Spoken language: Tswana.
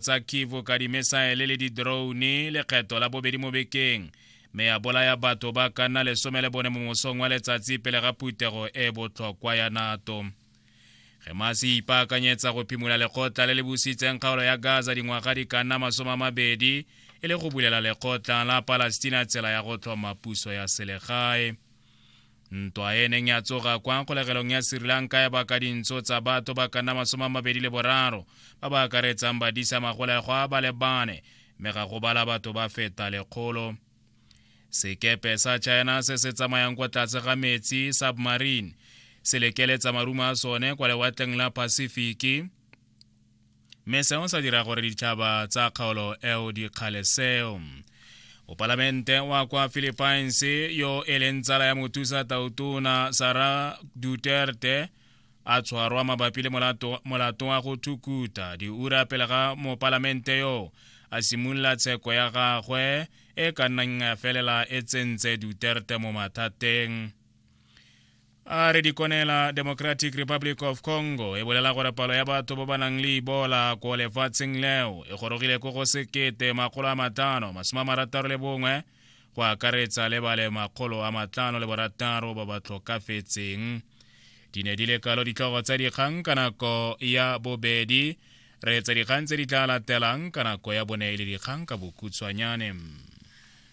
tsa Kivu ka dimesaele le di-drone lekgetho la bobedi mo bekeng mme ya bolaya batho ba ka nna 14 mo mosong wa letsatsi pele ga phuthego e botlhokwa ya NATO. Hamas e ipaakanyetsa go phimola lekgotla le le busitseng kgaolo ya Gaza dingwaga di ka nna 20 e le go bulela lekgotla la Palestina tsela ya go tlhoma puso ya selegae. Ntwa e neng ya tsoga kwa kgolegelong ya Sri Lanka ya baka dintsho tsa batho ba ka nna 23 ba ba akaretsang badisa magolegwa ba le bane mme ga go bala batho ba feta 100. Sekepe sa China se se tsamayang kwa tlase ga metsi submarine se lekeletsa marumo a sone kwa lewatleng la Pacific mme seo sa dira gore ditšhaba tsa kgaolo eo di kgale seo. Mopalamente wa kwa Philippines yo e leng tsala ya mothusa tautona Sara Duterte a tshwarwa mabapi le molato, molato wa go thukuta diura pele ga mopalamente yo a simolola tsheko ya gagwe e ka nnang ya felela e tsentse Duterte mo mathateng. A re dikonela Democratic Republic of Congo e bolela gore palo ya batho ba ba nang le Ebola ko lefatsheng leo e gorogile ko go 1561 go akaretsa le ba le 506 ba ba tlhokafetseng. Di ne di le kalo ditlhogo tsa dikgang ka nako ya bobedi. Re etsa dikgang tse di tla latelang ka nako ya bone e le dikgang ka bokhutshwanyane.